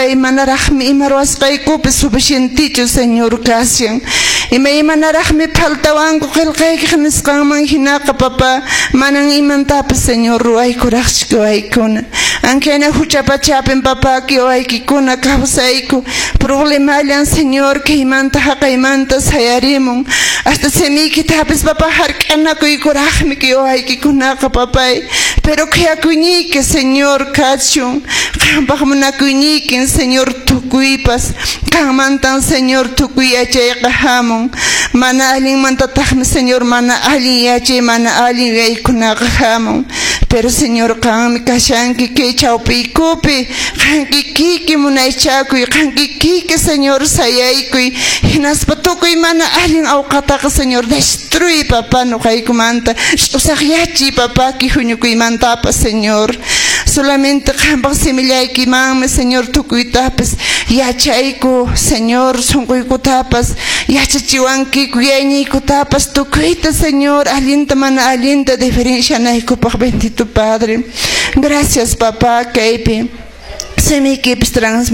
Papay, manaraqmi ima ruwasqaykupas suficientechu, Señor, kashan. Imaymanaraqmi faltawanku qillqaykiq nisqanman hinaqa, papá, manan imantapas, Señor, ruwaykuraqchu waykuna. Ankayna hucha pachapin, papá, waykikuna kawsayku. Problemallan, Señor, kaymanta haqaymanta sayarimun. Hasta simiykitapis, papá, hark'anakuykuraqmi kay waykikunaqa, papay. Pero khuyakuyniyki, Señor, kachun. Qampaq munakuyniykin, Señor, tukuypas. Qanmantan, Señor, tukuy yachayqa hamun. Mana allinmantataqmi, Señor, mana allin yachay, mana allin yuyaykunaqa hamun. Pero, Señor, qanmi kashanki kay chawpiykupi. Qan kikiyki munaychakuy, qan kikiyki, Señor, sayaykuy. Hinaspa tukuy mana allin awqataqa, Señor, destruy, papá, nuqaykumanta. Ch'usaqyachiy, papá, kay huñukuymantapas, Señor. Solamente qampaq simillaykimanmi, Señor, tukuytapas yachayku, Señor, sunquykutapas yachachiwankiku, yayniykutapas tukuyta, Señor, allinta mana allinta diferencianaykupaq, bendito Padre. Gracias, papá, kaypi simiykipis trans